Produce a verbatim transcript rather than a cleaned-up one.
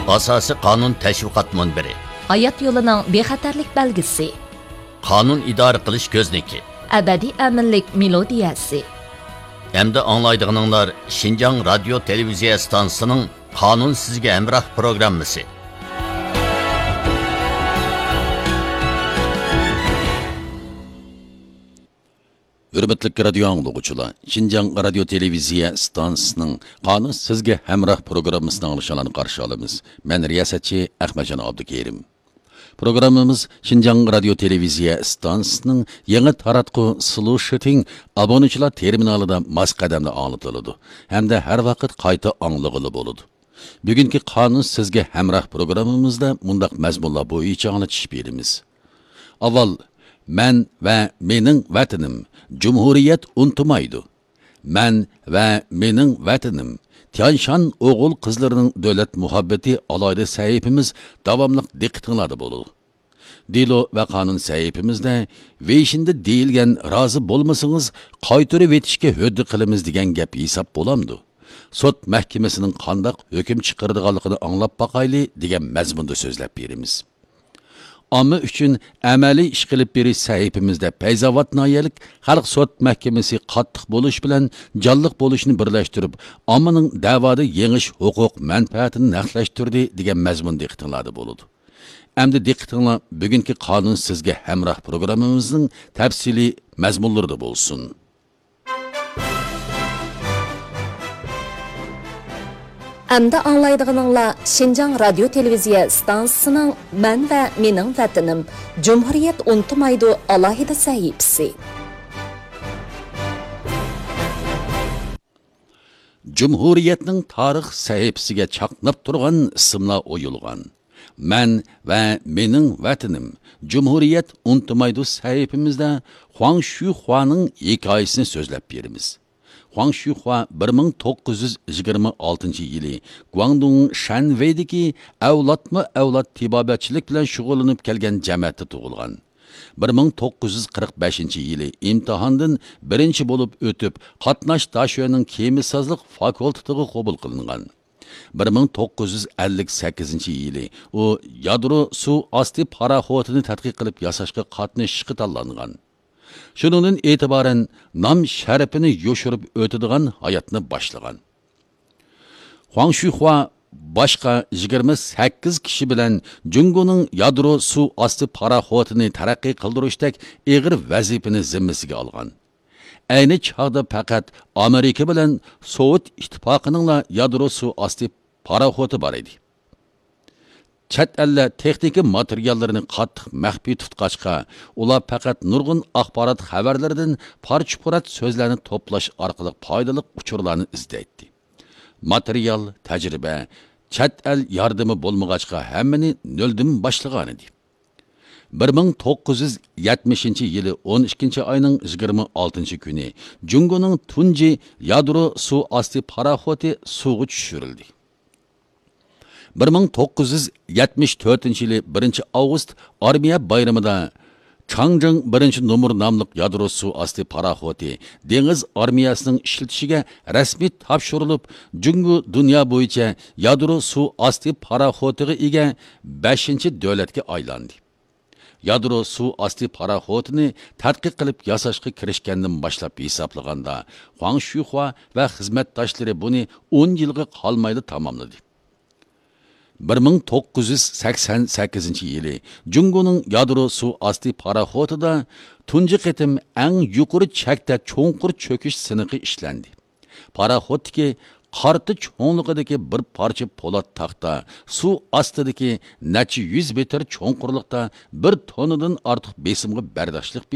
ئاساسىي قانۇن تەشۋىقات مۇنبىرى. ھايات يولىنىڭ بىخەتەرلىك بەلگىسى. قانۇن ئىدارە قىلىش كۆزنىكى. ئەبەدىي ئەمىنلىك مېلودىيەسى. ئەمدى ئاڭلايدىغىنىڭلار شىنجاڭ رادىيو تېلېۋىزىيە ئىستانسىسىنىڭ قانۇن سىزگە ھەمراھ پروگراممىسى. ھۆرمەتلىك رادىيو ئاڭلىغۇچىلار، شىنجاڭ رادىيو تېلېۋىزىيە ئىستانسىسىنىڭ قانۇن سىزگە ھەمراھ پروگراممىسىنى ئاڭلىشىڭلارنى قارشى ئالىمىز. مەن رىياسەتچى ئەخمەتجان ئابدۇكېرىم. پروگراممىمىز شىنجاڭ رادىيو تېلېۋىزىيە ئىستانسىسىنىڭ يېڭى تاراتقۇ سلۇشىتىڭ ئابۇنىچىلار تېرمىنالىدا ماس قەدەمدە ئاڭلىتىلىدۇ ھەمدە ھەر ۋاقىت قايتا ئاڭلىغىلى بولىدۇ. بۈگۈنكى قانۇن سىزگە ھەمراھ پروگراممىمىزدا مۇنداق مەزمۇنلار بويىچە ئاڭلىتىش بېرىمىز. ئاۋۋال، مەن ۋە مېنىڭ ۋەتىنىم، جۇمھۇرىيەت ئۇنتۇمايدۇ. مەن ۋە مېنىڭ ۋەتىنىم، تيانشان ئوغۇل قىزلىرىنىڭ دۆلەت مۇھەببىتى ئالاھىدە سەھىپىمىز داۋاملىق دىققىتىڭلاردا بولىدۇ. دېلو ۋە قانۇن سەھىپىمىزدە ۋېيشىندە دېيىلگەن رازى بولمىسىڭىز قايتۇرۇۋېتىشكە ھۆددە قىلىمىز دېگەن گەپ ھېساب بولامدۇ؟ سوت مەھكىمىسىنىڭ قانداق ھۆكۈم چىقىرىدىغانلىقىنى ئاڭلاپ باقايلى دېگەن مەزمۇندا سۆزلەپ بېرىمىز. ئامما ئۈچۈن ئەمەلىي ئىش قىلىپ بېرىش سەھىپىمىزدە پەيزاۋات ناھىيەلىك خەلق سوت مەھكىمىسى قاتتىق بولۇش بىلەن جانلىق بولۇشنى بىرلەشتۈرۈپ، ئاممىنىڭ دەۋادا يېڭىش ھوقۇق مەنپەئەتىنى نەقلەشتۈردى دېگەن مەزمۇن دىققىتىڭلاردا بولىدۇ. ئەمدى دىققىتىڭلار بۈگۈنكى قانۇن سىزگە ھەمراھ پروگراممىمىزنىڭ تەپسىلىي مەزمۇنلىرىدا بولسۇن. ئەمدى ئاڭلايدىغىنىڭلار شىنجاڭ رادىيو تېلېۋىزىيە ئىستانسىسىنىڭ مەن ۋە مېنىڭ ۋەتىنىم، جۇمھۇرىيەت ئۇنتۇمايدۇ ئالاھىدە سەھىپىسى. جۇمھۇرىيەتنىڭ تارىخ سەھىپىسىگە چاقناپ تۇرغان ئىسىملار ئويۇلغان. مەن ۋە مېنىڭ ۋەتىنىم، جۇمھۇرىيەت ئۇنتۇمايدۇ سەھىپىمىزدە خۇاڭ شۈخۇانىڭ ھېكايىسىنى سۆزلەپ بېرىمىز. خۇاڭ شۈخۇا بىر مىڭ توققۇز يۈز يىگىرمە ئالتىنچى يىلى گۇاڭدۇڭ شەنۋېيدىكى ئەۋلادمۇ ئەۋلاد تېبابەتچىلىك بىلەن شۇغۇللىنىپ كەلگەن جەمەتتە تۇغۇلغان. بىر مىڭ توققۇز يۈز قىرىق بەشىنچى يىلى ئىمتىھاندىن بىرىنچى بولۇپ ئۆتۈپ، قاتناش داشۆنىڭ كېمىسازلىق فاكۇلتېتىغا قوبۇل قىلىنغان. بىر مىڭ توققۇز يۈز ئەللىك سەككىزىنچى يىلى ئۇ يادرو سۇ ئاستى پاراخوتىنى تەتقىق قىلىپ ياساشقا قاتنىشىشقا تاللانغان. شۇنىڭدىن ئېتىبارەن نام شەرىپىنى يوشۇرۇپ ئۆتىدىغان ھاياتنى باشلىغان. خۇاڭ شۈخۇا باشقا يىگىرمە سەككىز كىشى بىلەن جۇڭگونىڭ يادرو سۇ ئاستى پاراخوتىنى تەرەققىي قىلدۇرۇشتەك ئېغىر ۋەزىپىنى زىممىسىگە ئالغان. ئەينى چاغدا پەقەت ئامېرىكا بىلەن سوۋېت ئىتتىپاقىنىڭلا يادرو سۇ ئاستى پاراخوتى بار ئىدى. چەت ئەللەر تېخنىكا ماتېرىياللىرىنى قاتتىق مەخپىي تۇتقاچقا، ئۇلار پەقەت نۇرغۇن ئاخبارات خەۋەرلىرىدىن پارچە-پۇرات سۆزلەرنى توپلاش ئارقىلىق پايدىلىق ئۇچۇرلارنى ئىزدەيتتى. ماتېرىيال، تەجرىبە، چەت ئەل ياردىمى بولمىغاچقا، ھەممىنى نۆلدىن باشلىغانىدى. بىر مىڭ توققۇز يۈز يەتمىشىنچى يىلى ئون ئىككىنچى ئاينىڭ يىگىرمە ئالتىنچى كۈنى جۇڭگونىڭ تۇنجى يادرو سۇ ئاستى پاراخوتى سۇغا چۈشۈرۈلدى. بىر مىڭ توققۇز يۈز يەتمىش تۆتىنچى يىلى بىرىنچى ئاۋغۇست ئارمىيە بايرىمىدا چاڭجىڭ بىرىنچى نومۇر ناملىق يادرو سۇ ئاستى پاراخوتى دېڭىز ئارمىيەسىنىڭ ئىشلىتىشىگە رەسمىي تاپشۇرۇلۇپ، جۇڭگو دۇنيا بويىچە يادرو سۇ ئاستى پاراخوتىغا ئىگە بەشىنچى دۆلەتكە ئايلاندى. يادرو سۇ ئاستى پاراخوتىنى تەتقىق قىلىپ ياساشقا كىرىشكەندىن باشلاپ ھېسابلىغاندا، خۇاڭ شۈخۇا ۋە خىزمەتداشلىرى بۇنى ئون يىلغا قالمايلا تاماملىدى. بىر مىڭ توققۇز يۈز سەكسەن سەككىزىنچى يىلى جۇڭگونىڭ يادرو سۇ ئاستى پاراخوتىدا تۇنجى قېتىم ئەڭ يۇقىرى چەكتە چوڭقۇر چۆكۈش سىنىقى ئىشلەندى. پاراخوتتىكى قارتا چوڭلۇقىدىكى بىر پارچە پولات تاختا سۇ ئاستىدىكى نەچچە يۈز مېتىر چوڭقۇرلۇقتا بىر توننىدىن ئارتۇق بېسىمغا بەرداشلىق بېرىپ،